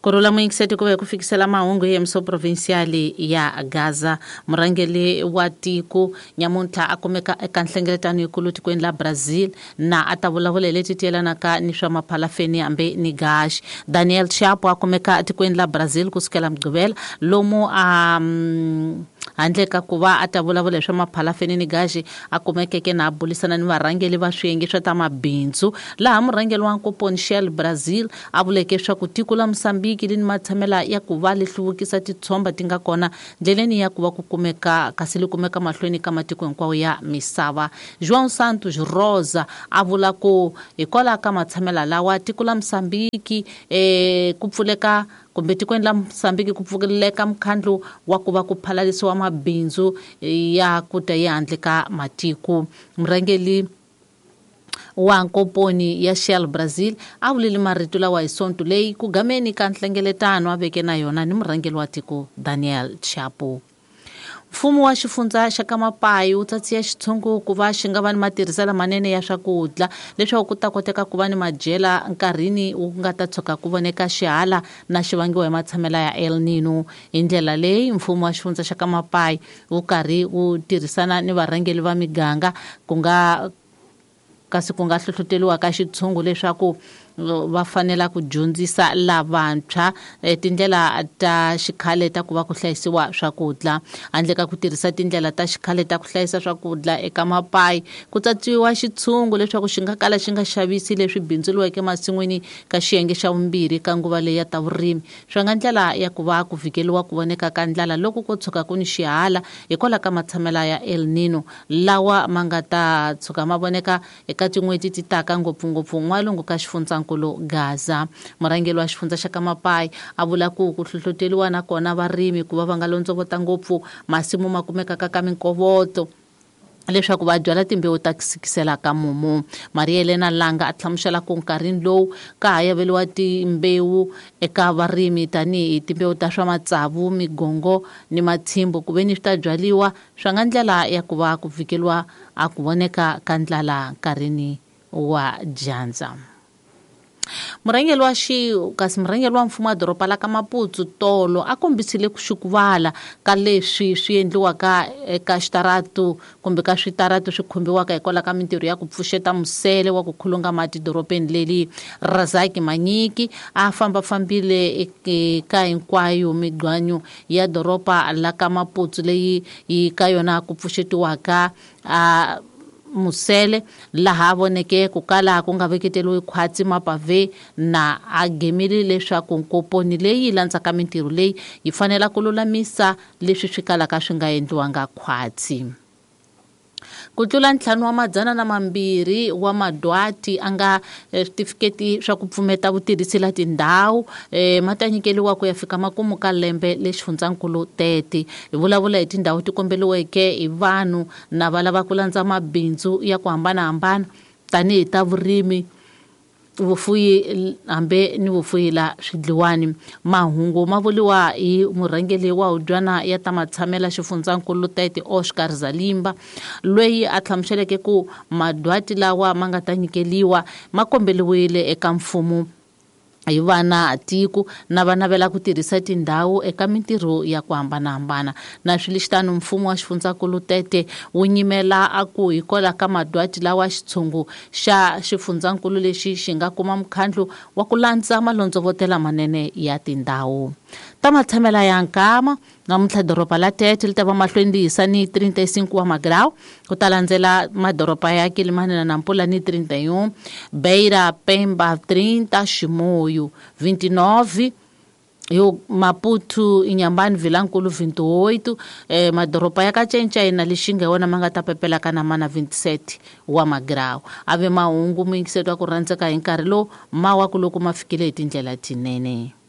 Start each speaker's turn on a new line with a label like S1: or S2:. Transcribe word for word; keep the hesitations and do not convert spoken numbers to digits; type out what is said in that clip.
S1: Kurhula muyingiseti ku ve ku fikisela mahungu hi M C Provincial ya Gaza. Murhangeri wa tiko nyamuntlha a kumeka eka nhlengeletano yikulu tikweni la Brazil na a ta vulavula hi leti tiyelanaka ni swa maphalafeni hambi ni gaxi. Daniel Chapo a kumeka etikweni la Brazil kusukela Mugqivela lomu a um, handle ka ku va a ta vulavula hi swa maphalafeni ni gaxi, a kumekeke na a bulisana ni varhangeli va swiyenge swa ta mabindzu, laha murhangeri wa nkoponi Shell Brazil a vuleke leswaku tiko la Mosambiki li ni matshamela ya ku va li hluvukisa titshomba ti nga kona ndleleni ya ku va ku kumeka kasi li kumeka mahlweni ka matiko hinkwawo ya misava. João Santos Rosa a vula ku hikwalaho ka matshamela lawa tiko la Mosambiki eh, ku pfuleka kumbe tikweni la Mosambiki ku pfuleka mukhandlu wa ku va ku phalalisiwa mabindzu ya ku ta ehandle ka matiko. Murhangeri wa nkoponi ya Shell Brazil a vulile marito lawa hi Sonto leyi ku gameni ka nhlengeletano a veke na yona ni murhangeri wa tiko Daniel Chapo. Mfumo wa xifundza xa Kamapayi wu tsatsiya xitshungu ku va xi nga va ni matirhiselo manene ya swakudya leswaku ku ta koteka ku va ni madyela nkarhini wu nga ta tshuka ku voneka xihala na xi vangiwa hi matshamela ya El Nino. Hi ndlela leyi mfumo wa xifundza xa Kamapayi wu karhi wu tirhisana ni varhangeri va miganga ku nga kasi ku nga hlohloteriwa ka xitshungu leswaku va fanela ku dyondzisa lavantshwa tindlela ta xikhale ta ku va ku hlayisiwa swakudya. Handle ka ku tirhisa tindlela ta xikhale ta ku hlayisa swakudya eka mapayi, ku tsatsiwa xitshungu leswaku xi nga kala xi nga xavisi leswi bindzuriweke masin'wini ka xiyenge xa vumbirhi ka nguva leyi ya ta vurimi, swi nga ndlela ya ku va ku vhikeliwa ku voneka ka ndlala loko ko tshuka ku ni xihala hikwalaho ka matshamela ya El Nino lawa ma nga ta tshuka ma voneka eka tin'hweti ti taka, ngopfungopfu n'walungu ka xifundzankulu Gaza. Murhangeri wa xifundza xa Kamapayi a vula ku ku hlohloteriwa na kona varimi ku va va nga londzovota ngopfu masimu ma kumekaka ka minkovoto leswaku va byala timbewu ta ku sikisela ka mumu. Maria Elena Langa a hlamusela ku nkarhini lowu ka ha yaveliwa timbewu eka varimi tanihi timbewu ta swa matsavu, migongo ni matshimbu ku ve ni swi ta byaliwa swa nga ndlela ya ku va ku vhikeliwa a ku voneka ka ndlala nkarhini wa dyandza. Murhangeri wa xi kasi murhangeri wa mfumo wa doroba la ka Maputo tolo a kombisile ku xukuvala ka leswi swi endliwaka eka xitaratu kumbe ka switaratu swi khumbiwaka hikwalaho ka mintirho ya ku pfuxeta musele wa ku khulunga mati dorobeni leli. Razaki Manyiki a fambafambile eka hinkwayo migwanyu ya doroba la ka Maputo leyi yi ka yona ku pfuxetiwaka a musele, laha voneke ku kala ku nga veketeriwi khwatsi mapave na a gemile leswaku nkoponi leyi landzaka mintirho leyi yi fanela ku lulamisa leswi swi kalaka swi nga endliwanga khwatsi. Ku tlula ntlhanu wa madzana na mambirhi wa madwati a nga switifiketi swa ku pfumeta vutirhisi la tindhawu eh, ma ta nyikeliwa ku ya fika makumu ka lembe le xifundzankulu Tete. Hi vulavula hi tindhawu ti kombeliweke hi vanhu na va lava ku landza mabindzu ya ku hambanahambana tanihi ta vurimi, vufuyi hambi ni vufuyi la swidliwani. Mahungu ma vuriwa hi murhangeri wa hubyana ya ta matshamela xifundzankulu Tete Oscar Zalimba, loyi a hlamuseleke ku madwati lawa ma nga ta nyikeliwa ma kombeliwile eka mfumo hi vana tiko na va navela ku tirhisa tindhawu eka mintirho ya ku hambanahambana. Na swilexitano mfumo wa xifundzankulu Tete wu nyimela a ku hikwalaho ka madwati lawa xitshungu xa xifundzankulu lexi xi nga kuma mukhandlu wa ku landza malondzovotela manene ya tindhawu ta matshamela ya nkama. Namuntlha doroba la Tete li ta va mahlweni li hisa ni trinta e cinco wa magrau, ku ta landzela madoroba ya Quelimane na Nampula ni trinta e um, Beira, Pemba trinta, Chimoio vinte e nove, yo Maputo, Inhambane, Vilankulo vinte e oito, eh, madoroba ya Kachenchay na Lixinga wona ma nga ta pepela ka na mana vinte e sete wa magrau. Ave mahungu muyingiseti wa ku rhandzeka hi nkarhi lowu ma wa ku loko ma fikile hi tindlela tinene.